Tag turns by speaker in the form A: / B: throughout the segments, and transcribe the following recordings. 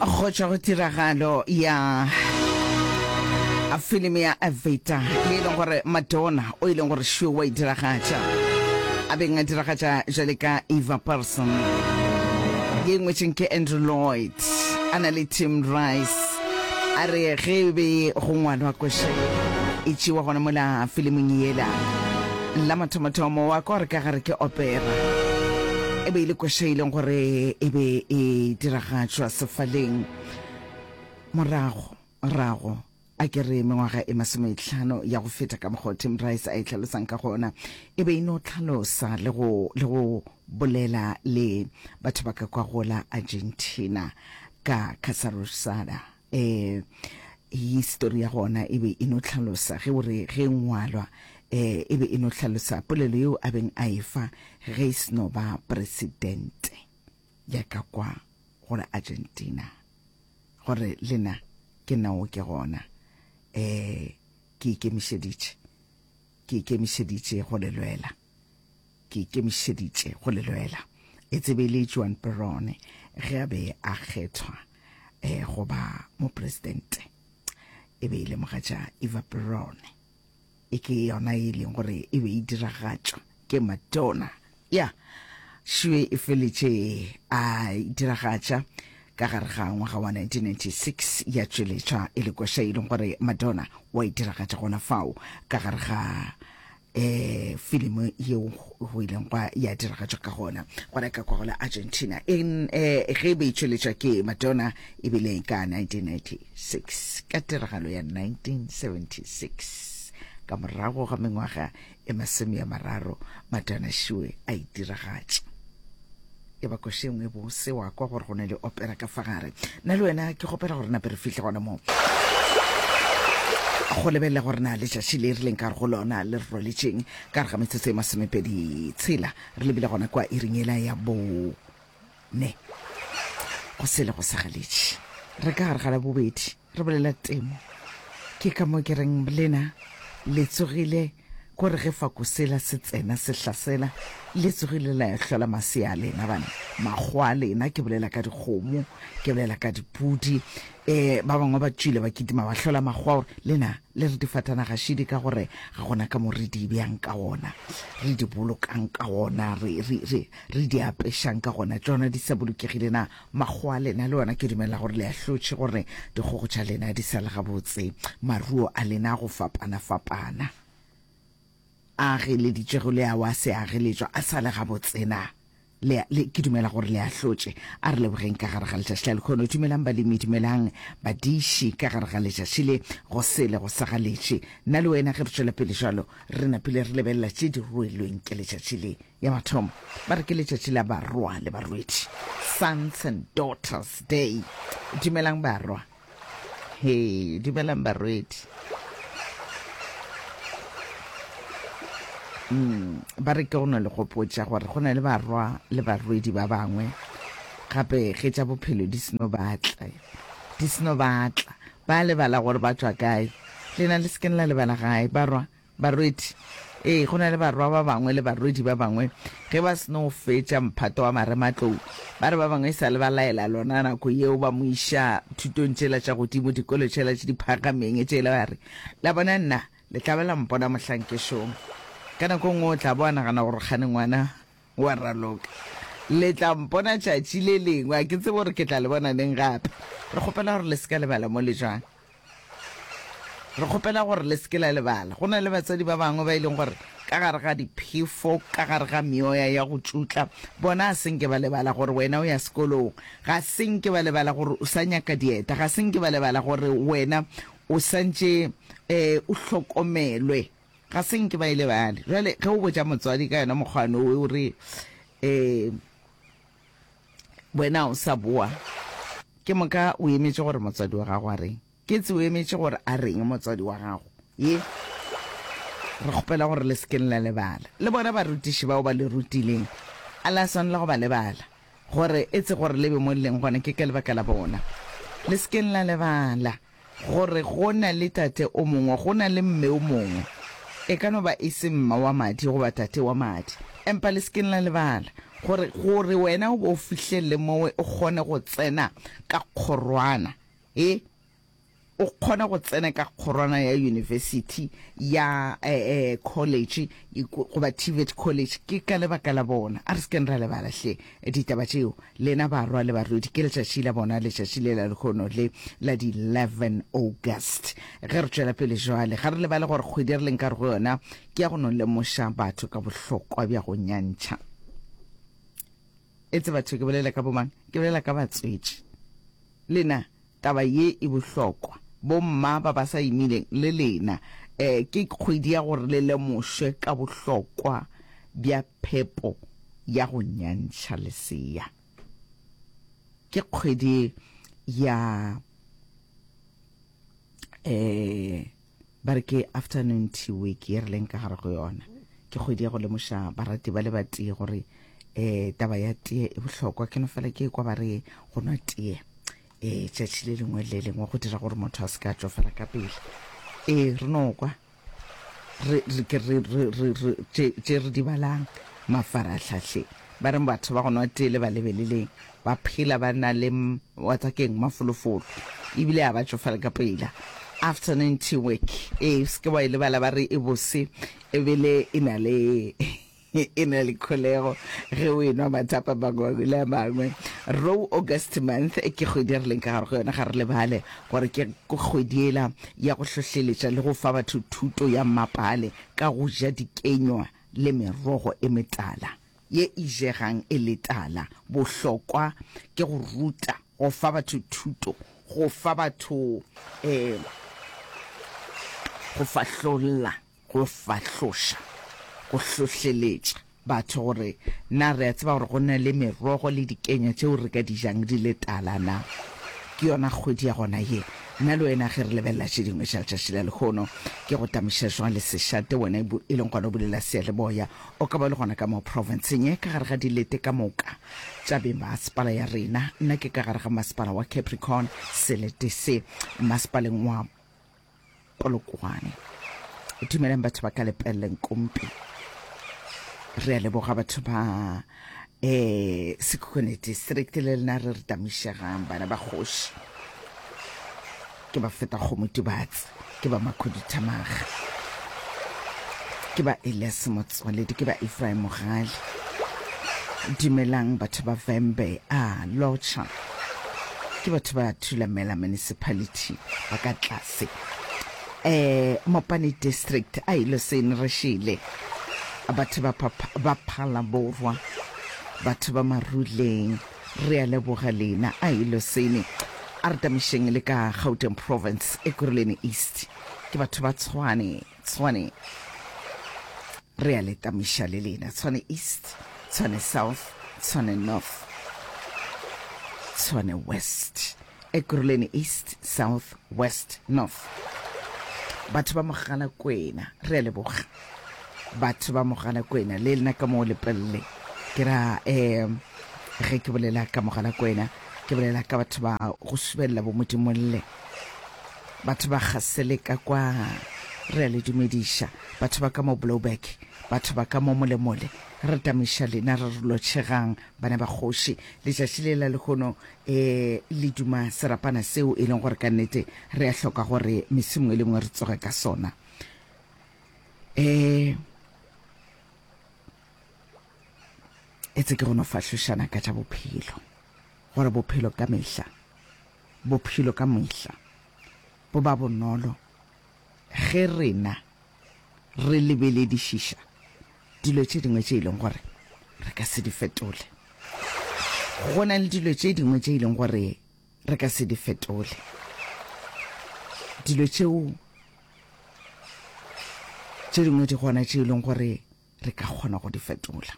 A: Go tšwa go tiragalo ya filimi ya Evita ye e leng gore Madonna o e leng gore šo wa e diragatša a beng a diragatša jale ka Eva Pearson ye ngwetšeng ke Andrew Lloyd a na le Tim Rice a re ge e be go ngwalwa koše e tšewa gona mola filiming yela La mathomothomo wa kwa gore ka gare ke opera. E be e le koša e leng gore e be e diragatšwa sefaleng morago rago a ke re mengwaga e masometlhano ya go feta ka mokgwa Tim Rice a e tlhalosang ka gona e be e no tlhalosa le go le go bolela le batho ba ka kwa gola Argentina ka Casarosada eh histori ya gona e be e no hlalosa ge o re ge ngwalwa eh e be e no hlalosa polelo yeo a beng a efa ge e seno ba presidente ya ka kwa go la Argentina gore lena ke nao ke gona eh ke ikemišeditše ke ikemišeditše go le lwela Ke ikemišeditše go le lwela. E tsebe le Juan Perón ge a be a kgethwa eh, go ba mopresidente. E be e le mogatša Eva Perón. E ke yona e leng gore e be e diragatšwa ke Madonna. Ya, šue e feletše a e diragatša ka gare ga ngwaga wa 1996 ya tšweletšwa e le koša e leng gore Madonna wa e diragatša gona fao ka gare ga eh filimo yeo go ileng gwa ya diragatšwa ka gona gona ka kwa go la Argentina in eh ge e be e tšweletšwa ke Madonna e bile ka 1996 ka tiragalo ya 1976 ka morago ga mengwaga e masome ya mararo Madonna šiwe a e diragatša e ba koše nngwe bose wa kwa gore go ne le opera ka fa gare nna le wena ke kgopela gore nape re fihle gona moo go lebelela gore na letšatši le re leng ka go lona le re rwaletšeng ka re ga metsotso e masomepedi tshela re lebile gona kwa iring ela ya bone go sele go sagaletše re ka gare ga la bobedi Re bolela temo. Ke ka mo ke reng lena le tsogile ko re ge fako sela se tsena se hlasela, le tsogile la ya hlola masea a lena bana, makgowa a lena, ke bolela ka dikgomo, ke bolela ka dipudi, eh, ba bangwe ba tšwile ba kitima ba hlola makgowa gore lena le re difatanaga šidi ka gore ga gona ka mo re di bjang ka gona, re di bolokang ka gona, re, re, re, re di apešang ka gona, tšona di sa bolokegile na? Makgowa a lena le ona ke dumela gore le ahlotše gore dikgogo tša lena di sa le gabotse, maruo a lena a go fapana-fapana a ageleditšwego le ao a se ageletšwa a sa le gabotse na? Le, le, ke dumela gore le ahlotše. A re lebogeng ka gare ga letšatši la lekhono. Dumelang balemi, dumelang badiši ka gare ga letšatši le, go sele go sa galetše. Nna le wena ge re tšwela pele jwalo, re napile re lebelela tše di ruelweng ke letšatši le. Ya mathomo, ba re ke letšatši la barwa le barwedi, Sons and Daughters Day. Dumelang barwa. He, dumelang barwedi. Mm, ba re ke go no le gopotša gore go na le barwa le barwedi ba bangwe gape ge tša bophelo di seno batla di seno batla ba lebala gore ba tšwa kae lena le sekeng la lebala gae barwa Barwedi, Ee, go na le barwa ba bangwe le barwedi ba bangwe ge ba seno fetša mphato wa marematlou, ba re ba bangwe e sa le ba laela lona nako yeo ba mo iša thutong tšela tša godimo, dikolo tšela tše di phagameng tšela, ba re, La bona nna, le tla ba la mpona mohlang ke šoma. Ka nako e nngwe o tla bo a nagana gore kgane ngwana wa raloka. Le tla mpona tšatši le lengwe, a ke tsebe gore ke tla le bona neng gape. Re kgopela gore le se ka lebala mo le tšwang. Re kgopela gore le se ke la lebala. Go na le batswadi ba bangwe ba e leng gore ka gare ga diphefo, ka gare ga meoya ya go tšutla, bona a se nke ba lebala gore wena o ya sekolong. Ga se nke ba lebala gore o sa nyaka dieta. Ga se nke ba lebala gore wena o santše um o hlokomelwe. Ga se nke ba e lebale. Jwale ge o botša motswadi ka yona mokgwano o re um wena o sa boa, ke moka o emetše gore motswadi wa gago a reng. Ke tse o emetše gore a reng motswadi wa gago. Ye, re kgopela gore le se ke la lebala. Le bona barutiši bao ba le rutileng, a la swanela go ba lebala, gore e tse gore le be mo le leng gona ke ka lebaka la bona. Le se keng la lebala gore go na le tate o mongwe, go na le mme o mongwe. E ka no ba e se mma wa madi goba tate wa madi, empa le se keng la lebala. Gore, gore wena o bo o fihlelele mowe o kgone go tsena ka kgorwana, e, o kgone go tsena ka kgorwana ya university, ya eh, eh, college, goba TVET college, ke ka lebaka la bona. A re se keng ra lebala hle ditaba tšeo. Lena barwa le barwedi, ke letšatši la bona, letšatši le la lehono le la di 11 August. Ge re tšwela pele jwale, ga re lebale gore kgwedi re leng ka re go yona ke ya go no lemoša batho ka bohlokwa bja go nyantšha. Etse batho ke bolela ka bomang? Ke bolela ka batswetši. Lena, taba ye e bohlokwa. Bomma ba ba sa imileng le lena, eh, ke kgwedi ya gore le lemošwe ka bohlokwa bja phepo ya go nyantšha lesea. Ke kgwedi ya, eh, Ba re ke afternoon tea week ye re leng ka gare go yona. Ke kgwedi ya go lemoša barati ba le ba tee gore um taba ya tee e bohlokwa. Ke no fela ke kwa ba re go nwa tee um tšatši le lengwe le lengwe go dira gore motho a se ka tšofala ka pele. Ee, re no kwa re re ke re re re re tše tše re di balang mafarahlahleng. Ba re batho ba go nwa tee le ba lebeleleng ba phela ba na le wa tsa keng mafolofolo ebile a ba tšofale ka pela. Afternoon tea week ee se ke wa e lebala ba re e bose ebile e na le e na le kholego ge o enwa mathapa mangwe le a mangwe. Row August month ke kgwedi re leng ka gare go yona ga re lebale gore ke kgwedi ela ya go hlohleletša le go fa batho thuto ya mmapale ka go ja dikenywa le merogo e metala ye e jegang e le tala. Bohlokwa ke go ruta, go fa batho thuto, go fa batho um go fahlolla, go fahloša, go hlohleletša batho gore na re a tseba gore go na le merogo le dikenya tšeo re ka di jang di le tala na. Ke yona kgwedi ya gona ye. Nna le wena ge re lebelela tše dingwe tša letšatši la lehono, ke go tamiša jwang le sešate wena e leng gona o bulela seyalemoya. O ka ba le gona ka mo profenseng ye ka gare ga dilete ka moka tša bemasepala ya rena. Nna ke ka gare ga masepala wa Capricorn, selete se masepaleng wa Polokwane. Dumelang batho ba ka Lepelle Nkumpi. Re a leboga batho ba eh Sekhukhune district le lena re re tamišegang bana ba kgoši. Ke ba feta kgomo Tubatse, ke ba Makhuduthamaga, ke ba Elias Motswaledi, ke ba Ephraim Mogale. Dumelang batho ba Vhembe, a lotšha. Ke batho ba Thulamela Municipality ba ka tlase. Eh, Mopani District, a ilo seng re šele. Batho ba ba Phalaborwa, batho ba Maruleng, re a leboga lena. A ilo sene. A re tamišeng le ka Gauteng Province, Ekurhuleni East. Ke batho ba Tshwane, Tshwane. Re a le tamiša le lena. Tshwane East, Tshwane South, Tshwane North, Tshwane West, Ekurhuleni East, South, West, North. Batho ba Mogalakwena, re a leboga. Batho ba Mogalakwena, le lena ka moo Lepelle. Ke ra um ge ke bolela ka Mogalakwena, ke bolela ka batho ba go subelela bo Modimolle. Batho ba Gasele ka kwa, re a le dumediša. Batho ba ka mo Blouberg, batho ba ka mo Molemole, re tamiša lena, re re lotšhegang, bana ba kgoši. Letšatši le la lehono e le duma serapana seo e leng gore ka nnete re a hloka gore mesong e lengwe re tsoge ka sona. E etse ke go no fahlošana ka tša bophelo, gore bophelo ka mehla Bophelo ka mehla bo ba bonolo ge rena re lebeledišiša dilo tše dingwe tše e leng gore re ka se di fetole. Go na le dilo tše dingwe tše e leng gore re ka se di fetole. Dilo tšeo tše dingwe di gona tše e leng gore re ka kgona go di fetola.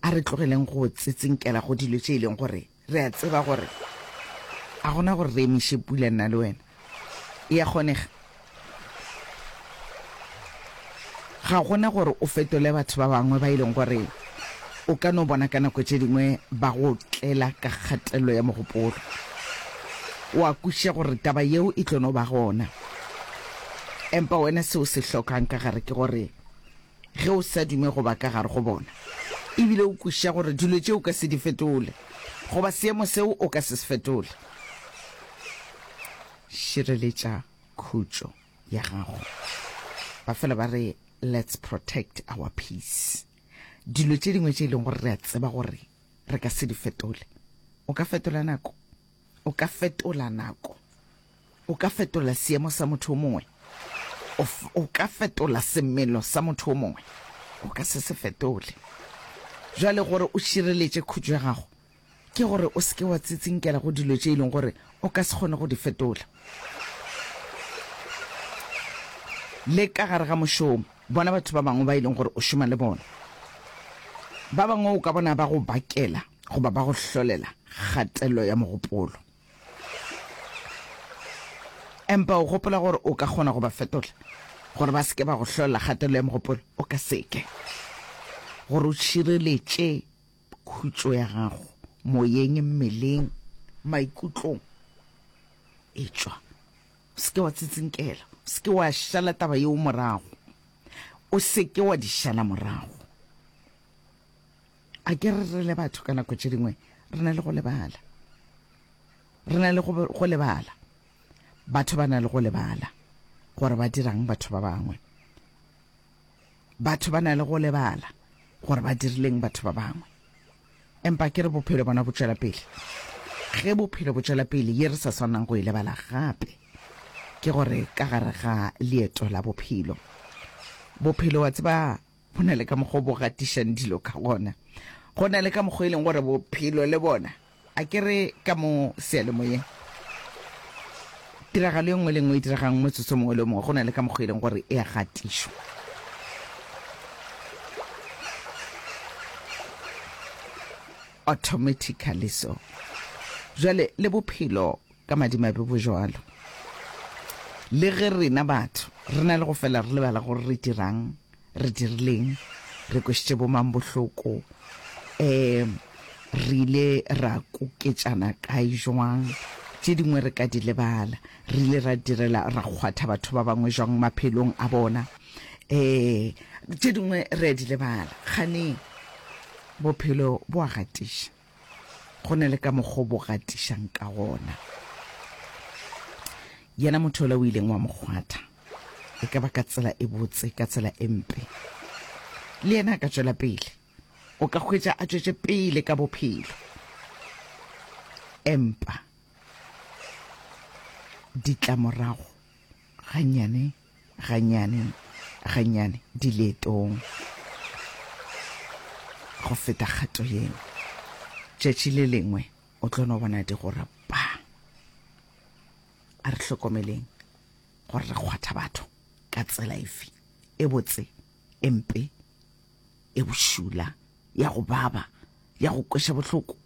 A: A re tlogeleng go tsetsinkela go dilo tše e leng gore re a tseba gore a gona gore re emiše pula nna le wena. E a kgonega. Ga gona gore o fetole batho ba bangwe ba e leng gore o ka no bona ka nako tše dingwe ba go tlela ka kgatelelo ya mogopolo. O a kwešiša gore taba yeo e tlo no ba gona. Empa wena seo se hlokang ka gare ke gore Ge o sa dume go ba ka gare go bona. Ebile o kwešiša gore dilo tše o ka se di fetole, goba seemo seo o ka se se fetole. Šireletša khutšo ya gago. Ba fela ba re, Let's protect our peace. Dilo tše dingwe tše e leng gore re a tseba gore re ka se di fetole. O ka fetola nako. O ka fetola nako. O ka fetola seemo sa motho o mongwe. O, o ka fetola semelo sa motho o mongwe. O ka se se fetole. Jwale gore o šireletše khutšo ya gago, ke gore o se ke wa tsitsinkela go dilo tše e leng gore o ka se kgone go di fetola. Le ka gare ga mošomo, bona batho ba bangwe ba e leng gore o šoma le bona. Ba bangwe o ka bona ba go bakela goba ba go hlolela kgatello ya mogopolo. Empa o gopola gore o ka kgona go ba fetola gore ba se ke ba go hlolela kgatello ya mogopolo? O ka se ke. Gore o šireletše khutšo ya gago moyeng, mmeleng, maikutlong, etšwa. O se ke wa tsitsinkela, o se ke wa šala taba yeo morago, o se ke wa di šala morago. A ke re re le batho ka nako tše dingwe re na le go lebala. Re na le go, go lebala. Batho ba na le go lebala gore ba dirang batho ba bangwe. Batho ba na le go lebala gore ba dirileng batho ba bangwe. Empa ke re bophelo bona bo tšwela pele. Ge bophelo bo tšwela pele, ye re sa swanang go e lebala gape ke gore ka gare ga leeto la bophelo, bophelo wa tseba Go na le ka mokgwa o bo gatišang dilo ka gona. Go na le ka mokgwa e leng gore bophelo le bona, a ke re ka mo seyalemoyeng, tiragalo e nngwe le nngwe e diregang motsotso mongwe le mongwe, go na le ka mokgwa e leng gore e a gatišwa. Automatically so. Jwale le bophelo ka madimabe bo jwalo. Le ge rena batho re na le go fela re lebala gore re dirang, re dirileng, re kwešitše bomang bohloko, um re ile ra koketšana kae jwang, tše dingwe re ka di lebala, re ile ra direla ra kgwatha batho ba bangwe jwang maphelong a bona, um tše dingwe re a di lebala. Kgane bophelo bo a gatiša. Go na le ka mokgwa o bo gatišang ka gona. Yena motho yola o ileng wa mo kgwatha, e ka ba ka tsela e botse, ka tsela e mpe, le yena a ka tšwela pele. O ka hwetša a tšwetše pele ka bophelo. Empa ditlamorago gannyane gannyane gannyane di leetong go feta kgato yeo. Tšatši le lengwe o tlo no bona di go ra pa. A re hlokomeleng gore re kgwatha batho ka tsela efe, e botse, e mpe, e bošula, ya go baba, ya go kweša bohloko.